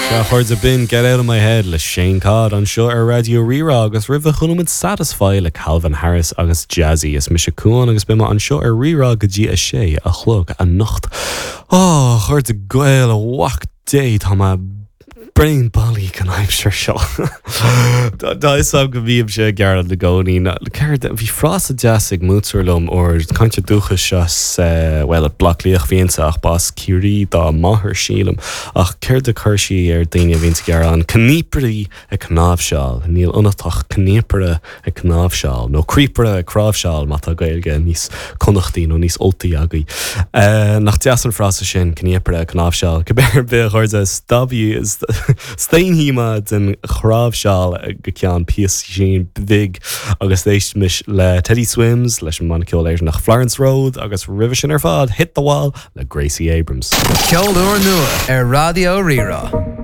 Sea, a chairde, b'in Get Out of My Head le Shane Codd anseo ar Raidió Rí-Rá agus roimhe chuala muid Satisfy le Calvin Harris agus Jazzy. Is mise Cuán agus beidh mé anseo ar Rí-Rá go dtí a sé a chlog anocht. Ó, a chairde Gael, a mhac Dé, tá mé bréan baileach an aimsir seo. Tá a fhios agam go mbímse ag gearán i gcónaí. Céard, bhí frása deas ag múinteoir liom uair, cainteoir dúchais as, bhuel, Bleá Cliath a bhí inti ach ba as Ciarraí dá máthair, sílim. Ach céard a chuir sí ar daoine a bhíonns ag gearán? Cníopairí ag cnáimhseáil. Níl ionat ach cníopaire ag cnáimhseáil, nó críopaire ag cráimhseáil má tá Gaeilge níos Connachtaí nó níos Ultaí agaibh. Nach deas an frása sin, cníopaire ag cnáimhseáil. Cibé ar bith, a chairde, staonfaidh mé den chráimhseáil go ceann píosaín bhig agus éistimis le Teddy Swims, leis an mbanna ceoil Éireannach Florence Road agus roimhe sin ar fad, Hit the Wall le Gracie Abrams. Ceol úrnua ar Raidió Rí-Rá.